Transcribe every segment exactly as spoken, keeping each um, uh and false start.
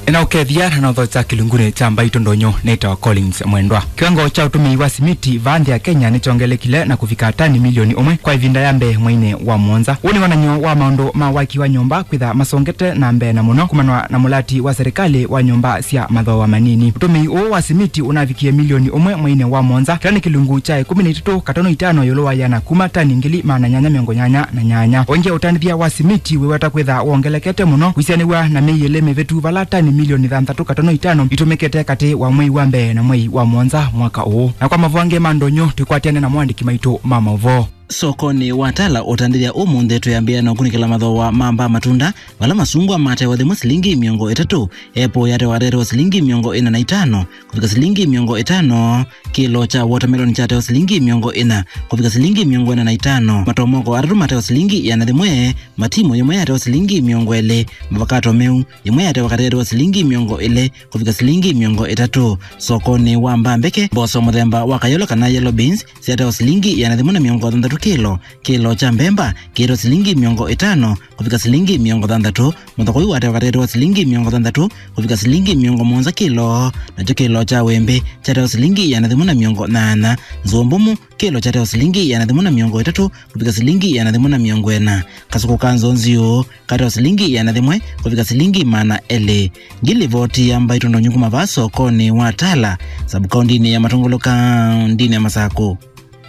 Nĩnaũkethya na nothokya kĩlungunĩ kya Mbaitũ Ndonyo. Nĩtawa Collins Mwendwa. Kĩwango kya ũtũmĩi wa simiti vaa nthĩ ya Kenya nĩkyongelekile na kũvika tani milioni ũmwe kwa ĩvinda ya mbee mweinĩ wa mũonza. Ũũ nĩ wonany'o wa maũndũ ma waki wa nyũmba kwĩtha masongete na mbee na mũno kumanwa na mũlati wa serikali wa nyũmba sya mathooa manini. Ũtũmĩi ũũ wa simiti ũnavikie milioni ũmwe mweinĩ wa mũonza, kĩla nĩ kĩlungu kya ĩkũmi na itatũ katono itano ĩũlũ wa ĩana kuma tani ngili maana nyanya mĩongo nyanya na nyanya. Ũngĩ, ũtandĩthya wa simiti wĩweta kwĩtha wongelekete mũno kwĩsĩanĩw'a na myei ĩlĩ mĩvĩtu, vala tani milioni thanthatũ katono itano itũmĩkĩte katĩ wa mwei wa mbee na mwei wa mũonza mwaka ũũ. Na kwa mavangĩ ma ndonyo, twĩkwatĩane na moandĩki maitũ ma maũvoo. Sokonĩ wa Tala ũtandĩthya ũmũnthĩ twĩambĩĩa na ũkunĩkĩla mathooa ma mbaa matunda, vala masungwa matewa thĩmwe silingi mĩongo ĩtatũ, epo yatewa katetewa silingi mĩongo ĩna na itano kũvika silingi mĩongo ĩtano, kĩlo kya watermelon kyatewa silingi mĩongo ĩna kũvika silingi mĩongo ĩna na itano, matomoko atatũ matewa silingi ĩana thĩmwe, matimu yĩmwe yatewa silingi mĩongo ĩlĩ, mavakato meu yĩmwe yatewa katetewa silingi mĩongo ĩlĩ kũvika silingi mĩongo ĩtatũ. Sokonĩ wa mbaa mbeke, mboso mũthemba wa kayolo kana yellow beans syatewa silingi ĩana thĩmwe na mĩongo thanthatũ kĩlo, kĩlo kya mbemba kĩtewa silingi mĩongo ĩtano kũvika silingi mĩongo thanthatũ, mũthokoi watewa katetewa silingi mĩongo thanthatũ kũvika silingi mĩongo mũonza kĩlo, nakyo kĩlo kya wĩmbĩ kyatewa silingi ĩana thĩmwe na mĩongo nyanya, nzũa mbũmũ kĩlo kyatewa silingi ĩana thĩmwe na mĩongo ĩtatũ kũvika silingi ĩana thĩmwe na mĩongo ĩna, kasũkũ ka nzonziũ katewa silingi ĩana thĩmwe kũvika silingi maana elĩ. Ngilivoti ya Mbaitũ Ndonyo kuma vaa sokonĩ wa Tala, sabkaundinĩ ya Matũngũlũ, kaundinĩ ya Masakũ.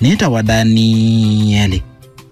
Nĩtawa Danieli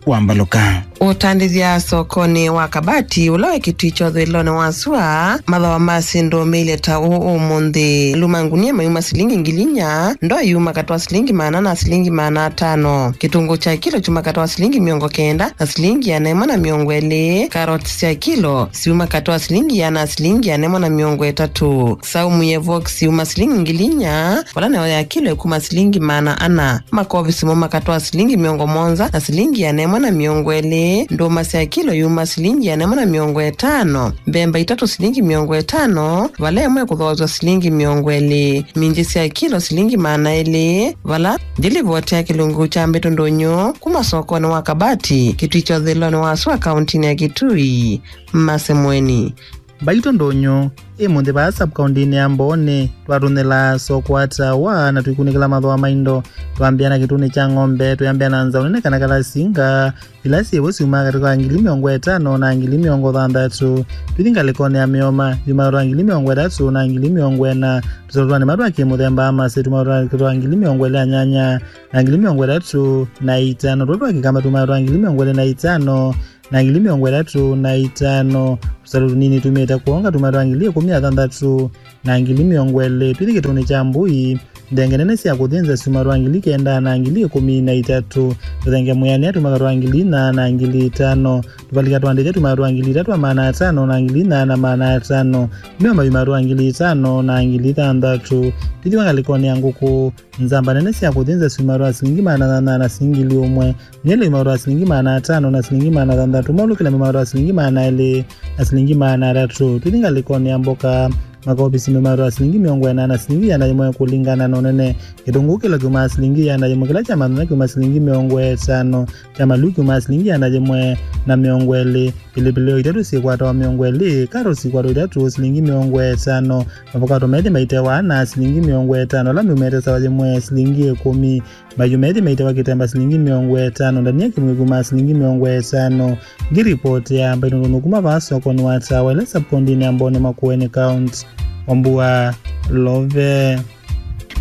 Wambalũka. Ũtandĩthya sokonĩ wa Kabati, ũla wĩ Kĩtui kya ũthũĩlonĩ wa sua, mathooa ma syĩndũ meilye ta ũũ ũmũnthĩ. Luma ngunia mayuma silingi ngili inya, ndoo yuma katwa silingi maana na silingi maana atano. Kĩtũngũũ kya kilo kyuma katwa silingi mĩongo kenda na silingi ĩana ĩmwe na mĩongo ĩlĩ. Karoti sya kilo siuma katwa silingi ĩana na silingi ĩana ĩmwe na mĩongo ĩtatũ. Saumu ye Vox yuma silingi ngili inya, vala nayo ya kilo ĩkuma silingi maana ana. Makovisi mo makatwa silingi mĩongo mũonza na silingi ĩana ĩmwe na mĩongo ĩlĩ. Ndũma sya kilo yuma silingi ĩana ĩmwe na mĩongo ĩtano. Mbemba itatũ silingi mĩongo ĩtano, vala ĩmwe ĩkũthooswa silingi mĩongo ĩlĩ. Minji sya kilo silingi maana elĩ, vala. Ndilivoti ya kĩlungu kya Mbaitũ Ndonyo kuma sokonĩ wa Kabati, Kĩtui kya ũthũĩlonĩ wa sua, kauntinĩ ya Kĩtui. Mase Mweni. Mbaitũ Ndonyo, ĩ mũnthĩ vaa sabkaundinĩ ya Mbooni, twatũnĩla soko wa Tawa na tũikunĩkĩla mathooa ma indo. Twambĩa na kĩtunĩ kya ng'ombe, twĩambĩa na nzaũ nene kana kalasinga, ila syĩvo syumaa katĩ ka ngili mĩongo ĩtano na ngili mĩongo thanthatũ. Tũthi ngalĩkonĩ ya mĩoma, yumaa katĩ ka ngili mĩongo ĩtatũ na ngili mĩongo ĩna. Tũsaũtwanĩ ma twa kĩmũthemba, amase, tumaa katĩ ka ngili mĩongo ĩlĩ na nyanya na ngili mĩongo ĩtatũ na itano. Tũla twa kĩkamba tumaa katĩ ka ngili mĩongo ĩlĩ na itano na ngili mĩongo ĩtatũ na itano. Tũsalũ tũnini tumĩte kwonga tumaa katĩ ka ngili ĩkũmi na thanthatũ na ngili mĩongo ĩlĩ. Tũthi kĩtunĩ kya mbũi, nthenge nene sya kũthĩnza syumaa katĩ ka ngili kenda na ngili ĩkũmi na itatũ. Tũthenge mwĩanĩe tumaa katĩ ka ngili inya na ngili itano. Tũvalika twa ndĩthya tumaa katĩ ka ngili itatũ na maana atano na ngili inya na maana atano. Mĩoma yumaa katĩ ka ngili itano na ngili thanthatũ. Tũthi ngalĩkonĩ ya ngũkũ, nzamba nene sya kũthĩnza syumaa katĩ ka silingi maana nyanya na silingi ngili ũmwe. Nyele yumaa katĩ ka silingi maana atano na silingi maana thanthatũ. Maũlũkĩla yumaa katĩ ka silingi maana elĩ na silingi maana atatũ. Tũthi ngalĩkonĩ ya mboka, makovisi meumaa katĩ ka silingi mĩongo ĩna na silingi ĩana yĩmwe kũlingana na ũnene. Kĩtũngũũ kĩlo kyumaa silingi ĩana yĩmwe, kĩla kya manyanya kyumaa silingi mĩongo ĩtano, kya maluu kyumaa silingi ĩana yĩmwe na mĩongo ĩlĩ. Pilipili o itatũ syĩkwatawa mĩongo ĩlĩ, karoti ikwatwa itatũ silingi mĩongo ĩtano, mavokato methĩ maitewa ana silingi mĩongo ĩtano, ala meumĩte sawa yĩmwe silingi ĩkũmi. Mbayu methĩ maitewa kĩtemba silingi mĩongo ĩtano, ndania kĩmwe kuma silingi mĩongo ĩtano. Ngiripoti ya Mbaitũ Ndonyo kuma vaa sokonĩ wa Tawa ĩla sabkaundinĩ ya Mbooni, Makueni County. Wambua Love.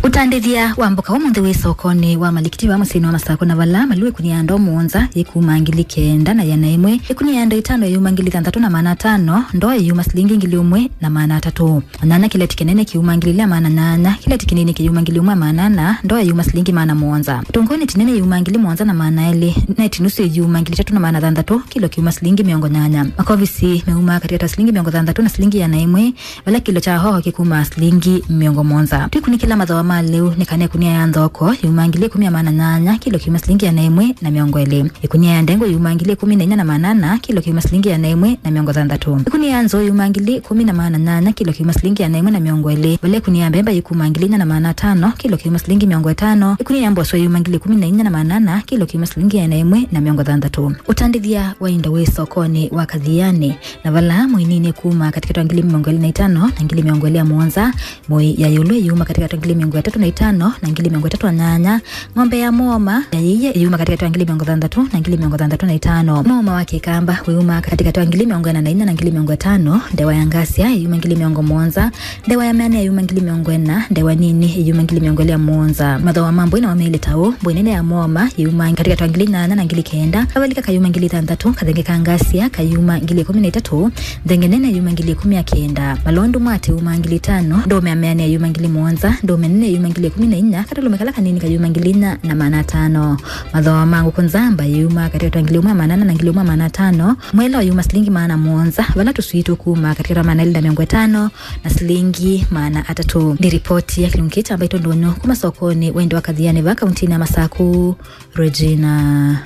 Ũtandĩthya wa mboka ũmũnthĩ wĩ sokonĩ wa Malikiti vaa mũsyĩnĩ wa Masakũ, na vala maluu ĩkũnia ya ndoo mũonza yĩkuma ngili kenda na ĩana ĩmwe, ĩkũnia ya ndoo itano yĩyuma ngili thanthatũ na maana atano, ndoo yĩyuma silingi ngili ũmwe na maana atatũ. Nyanya kĩleti kĩnene kĩyuma ngili ilĩ na maana nyanya, kĩleti kĩnini kĩyuma ngili ũmwe na maana ana, ndoo yĩyuma silingi maana mũonza. Kĩtũngũũ neti nene yĩyuma ngili mũonza na maana elĩ, neti nusu yĩyuma ngili itatũ na maana thanthatũ, kĩlo kĩyuma silingi mĩongo nyanya. Makovisi meumaa katĩ ka silingi mĩongo thanthatũ na silingi ĩana ĩmwe, vala kĩlo kya hoho kĩkumaa silingi mĩongo mũonza. Tũikunĩkĩla mathooa Lĩu nĩ kana ĩkunia ya nthoko yuma ngili ĩkũmi na maana nyanya, kilo kiuma silingi ĩana ĩmwe na mĩongo ĩlĩ. Ĩkunia ya ndengũ yuma ngili ĩkũmi na inya na maana ana, kilo kiuma silingi ĩana ĩmwe na mĩongo thanthatũ. Ĩkunia ya nzũũ yuma ngili ĩkũmi na maana nyanya, kilo kiuma silingi ĩana ĩmwe na mĩongo ĩlĩ. Vala ĩkunia ya mbemba yĩkuma ngili inya na maana atano, kilo kiuma silingi mĩongo ĩtano. Ĩkunia ya mboswa yuma ngili ĩkũmi na inya na maana ana, kilo kiuma silingi ĩana ĩmwe na mĩongo thanthatũ. Ũtandĩthya wa indo wĩ sokonĩ wa Kathiani, na vala mũinini kuma katĩkatĩ wa ngili mĩongo ĩlĩ na itano na ngili mĩongo ĩlĩ na mũonza, mũi ya ĩũlũ ĩyuma katĩkatĩ wa ngili mĩongo ĩtatũ na itano na ngili mĩongo ĩtatũ na nyanya, ng'ombe ya mũoma ya yĩie ĩyuma katĩkatĩ wa ngili mĩongo thanthatũ na ngili mĩongo thanthatũ na itano, mũoma wa kĩkamba wĩyuma katĩkatĩ wa ngili mĩongo ĩna na inya na ngili mĩongo ĩtano, ndewa ya ngasia ĩyuma ngili mĩongo mũonza, ndewa ya mĩanĩa yuma ngili mĩongo ĩna, ndewa nini yuma ngili mĩongo ĩlĩ na mũonza. Mathooa ma mbũi na mameile ta ũũ: mbũi nene ya mũoma yuma katĩkatĩ wa ngili nyanya na ngili kenda, kavalika kayuma ngili thanthatũ, kathenge ka ngasia kayuma ngili ĩkũmi na itatũ, nthenge nene yuma ngili ĩkũmi na kenda, malondu mwatĩ yuma ngili itano, ndũũme ya mĩanĩa yuma ngili mũonza, ndũũme nene yuma ngili ĩkũmi na inya, katũlũme kala kanini kayuma ngili inya na maana atano. Mathooa ma ngũkũ nzamba yuma katĩkatĩ wa ngili ĩmwe na maana ana na ngili ĩmwe na maana atano, mwela yuma silingi maana mũonza, vala tũswii tũkuma katĩkatĩ wa maana elĩ na mĩongo ĩtano na silingi maana atatũ. Nĩ ripoti ya kĩlungu kĩĩ kya Mbaitũ Ndũnyũ kuma sokonĩ wa indo wa Kathiani va kauntinĩ ya Masaku, Regina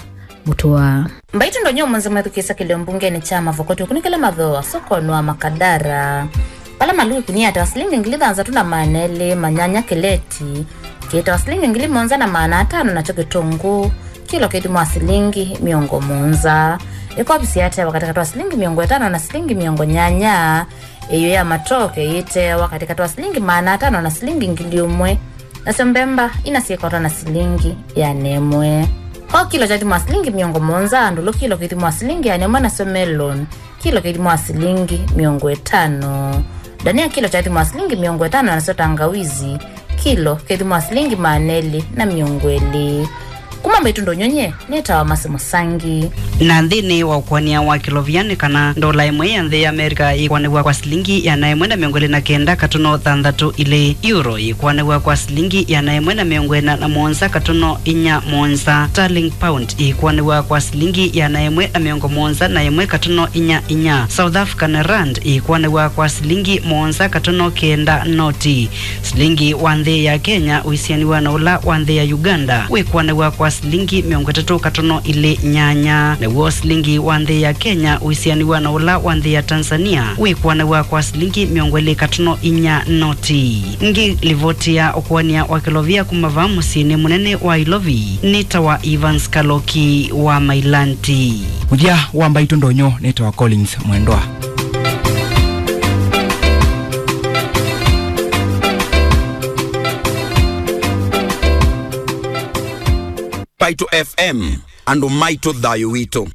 Mutua. Mbaitũ Ndũnyũ ũmũnthĩ mwĩthukĩĩsya kĩlio mbungenĩ kya Mavokoti ũkunĩkĩle mathooa sokonĩ wa Makadara, vala maluu ĩkunia ya ta silingi ngili thanthatũ na maana elĩ ma nyanya kĩleti kĩtawa silingi ngili mũonza na maana atano, nakyo kĩtũngũũ kilo kĩthimwa silingi mĩongo mũonza. Ĩkovi syateawa katĩkatĩ wa silingi mĩongo ĩtano na silingi mĩongo nyanya. Ĩyũ ya matoke yĩteawa katĩkatĩ wa silingi maana atano na silingi ngili ũmwe, nasyo mbemba ina syĩkwatwa na silingi ĩana ĩmwe. Ko kilo kyathimwa silingi mĩongo mũonza, ndũlũ kilo kĩthimwa silingi ĩana ĩmwe, nasyo melon kilo kĩthimwa silingi mĩongo ĩtano. Ndania kilo kyathimwa silingi mĩongo ĩtano, nasyo tangawizi kilo kĩthimwa silingi maana elĩ na mĩongo ĩlĩ. Kuma Mbaitũ Ndũnyũ nyie nĩtawa Mercy Mũsangi. Na nthĩnĩ wa ũkũanĩa wa kĩlovia nĩ kana ndola ĩmwe ya nthĩ ya Amerika ĩkũanĩw'a kwa silingi ĩana ĩmwe na mĩongo ĩlĩ na kenda katono thanthatũ ilĩ, euro ĩkũanĩw'a kwa silingi ĩana ĩmwe na mĩongo ĩna na mũonza katono inya mũonza, sterling pound ĩkũanĩw'a kwa silingi ĩana ĩmwe na mĩongo mũonza na ĩmwe katono inya inya, South African rand ĩkũanĩw'a kwa silingi mũonza katono kenda noti. Silingi wa nthĩ ya Kenya ũisianĩw'a na ũla wa nthĩ ya Uganda wĩkũanĩw'a kwa silingi mĩongo ĩtatũ katono ilĩ nyanya. Naw'o silingi wa nthĩ ya Kenya ũisianĩw'a na ũla wa nthĩ ya Tanzania wĩkũanĩw'a kwa silingi mĩongo ĩlĩ katono inya noti. Ĩngĩ livoti ya ũkũanĩa wa kĩlovia kuma vaa mũsyĩnĩ mũnene wa Ilovi nĩ ta wa Evans Kaloki wa Mailanti. Mũthya wa Mbaitũ Ndũnyũ nĩ ta wa Collins Mwendwa. Mbaitũ F M, andũ maitũ, thayũ witũ.